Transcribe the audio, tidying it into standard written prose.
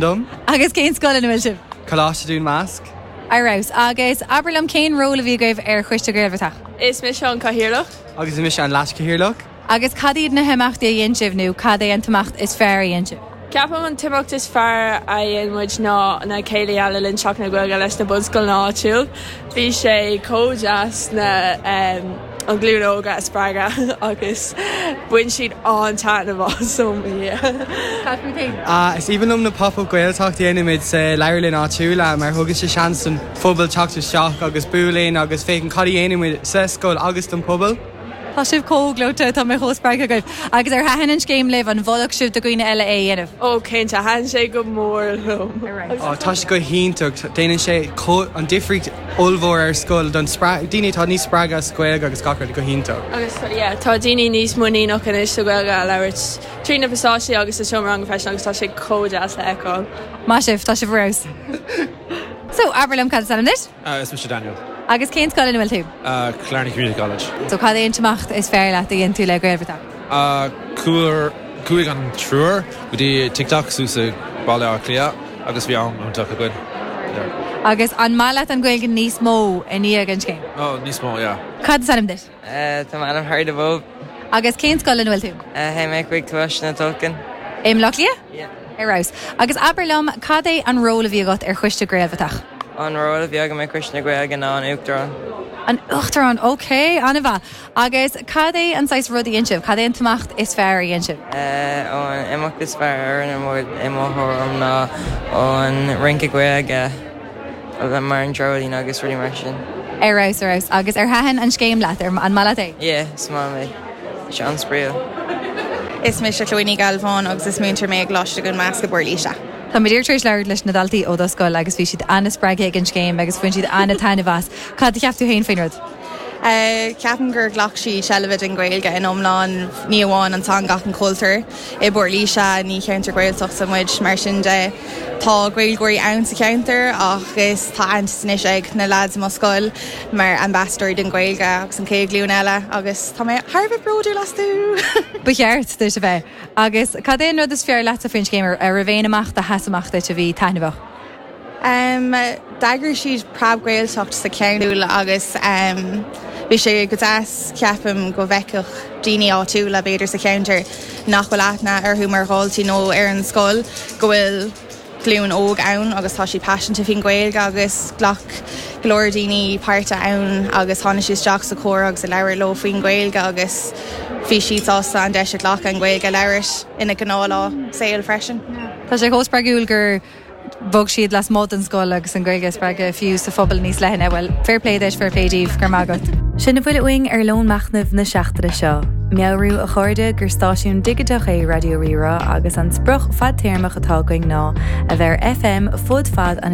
Dom. Agus cén scoil ina bhfuil sibh? Coláiste Dún Másc. Ar fheabhas. Agus abair liom cén ról a bhí agaibh ar Choiste Gaelbhratach? Is mise an Cathaoirleach. Agus is mise an Leaschathaoirleach. Agus cad iad na himeachtaí a dhein sibh nó cad é an t-imeacht is fearr a dhein sibh? Ceapaim an t-imeacht is fearr a dhein muid ná na céilithe le linn Seachtain na Gaeilge leis na bunscoileanna áitiúil. Bhí sé chomh deas na an ghlúin óga a spreagadh agus bhain siad an-taitneamh as ó mo Dhia. Cad fút féin? Is aoibhinn liom na Pop-Up Gaeltacht a dhéanaimid sa leabharlann áitiúil mar thugann sé seans don phobal teacht isteach agus bualadh linn agus féachaint cad a dhéanaimid sa scoil agus don phobal. Tá sibh chomh gleoite, tá mé chomh spreagtha agaibh. Agus ar thaitin an scéim libh, an mholfadh sibh do dhaoine eile é a dhéanamh? Ó cinnte, thaitin sé go mór liom. Tá sé go hiontach, déanann sé an difríocht ollmhór ar scoil don daoine atá níos spreagtha sa Ghaeilge agus gach rud, go hiontach. Agus yeah, tá daoine níos muiníneach anois sa Ghaeilge a labhairt trí na pasáistí agus sa seomra ranga freisin agus tá sé chomh deas le feiceáil. Maith sibh, tá sibh ar fheabhas. So, abair liom cad is ainm duit? Is mise Daniel. Agus cén scoil ina bhfuil tú? Killarney Community College. So cad é an t-imeacht is fearr leat a dhein tú le Gaelbhratach? Chuaigh an triúr go dtí TikTok suas i Baile Átha Cliath agus bhí am iontach againn. Yeah. Agus an maith leat an Ghaeilge níos mó i ndiaidh an scéim? Oh, níos mó, yeah. Cad is ainm duit? Tá m'ainm Harry de Bhób. Agus cén scoil ina bhfuil tú? Théim mé chuig Coláiste na Tulchann. I mBleá Cliath? Yeah. Ar fheabhas. Agus abair liom, cad é an ról a bhí agat ar choiste Gaelbhratach? An ról a bhí agam ar Choiste na Gaeilge ná an Uachtarán. An Uachtarán, ok, an-mhaith. Agus cad é an saghas rud a dhein sibh? Cad é an t-imeacht is fearr a dhein sibh? An imeacht is fearr a rinne muid i mo thuairim ná an rince Gaeilge. Mar an dreoilín agus rudaí mar sin. Ar fheabhas, ar fheabhas. Agus ar thaitin an scéim leat? Ar, an maith leat é? Yeah, is maith liom é. Tá sé an-spraíúil. Is mise Chloe Ní Ghealbháin agus is múinteoir mé i gColáiste Dhún Másc i bPort Laoise. Tá mé díreach tar éis labhairt leis na daltaí ó do scoil agus bhí siad an-spreagtha ag an scéim agus bhain siad an-taitneamh as. Cad a cheap tú féin faoin rud? Ceapaim gur ghlac siad seilbh den Ghaeilge in iomlán, ní amháin an teanga ach an cultúr. I bPort Laoise, ní cheantar Gaeltachta muid, mar sin de tá Gaeilgeoirí ann sa cheantar ach is tá aitheantas anois ag na leaids i mo scoil mar ambasadóirí den Ghaeilge agus an chéad ghlúin eile agus tá mé thar a bheith bródúil astu! Ba cheart duit a bheith. Agus cad é an rud is fearr leatsa faoin scéim? An raibh aon imeacht a sheas amach duit a bhí taitneamhach? D'eagraigh siad Preab-Ghaeltacht sa cheantar agus bhí sé go deas, ceapaim, go bhfeicfeadh daoine áitiúla, b'fhéidir, sa cheantar nach bhfuil aithne orthu mar dhaltaí nó ar an scoil, go bhfuil glúin óg ann agus tá siad paiseanta faoin Ghaeilge agus ghlac go leor daoine páirt ann agus tháinig siad isteach sa chomhrá agus a labhair leo faoin Ghaeilge agus bhí siad sásta an deis a ghlacadh an Ghaeilge a labhairt ina ngnáthlá saoil freisin. Tá sé chomh spreagúil gur Bhog siad lasmuigh den scoil agus an Ghaeilge a spreagadh fiú sa phobal níos leithne. Bhuel, fair play duit, fair play daoibh, go raibh maith agat. Sin a bhfuil uainn ar Lón Machnaimh na seachtaine seo. Meabhrú, a chairde, gur stáisiún digiteach é Raidió Rí-Rá agus an sprioc fadtéarmach atá againn ná a bheith ar FM fud fad an.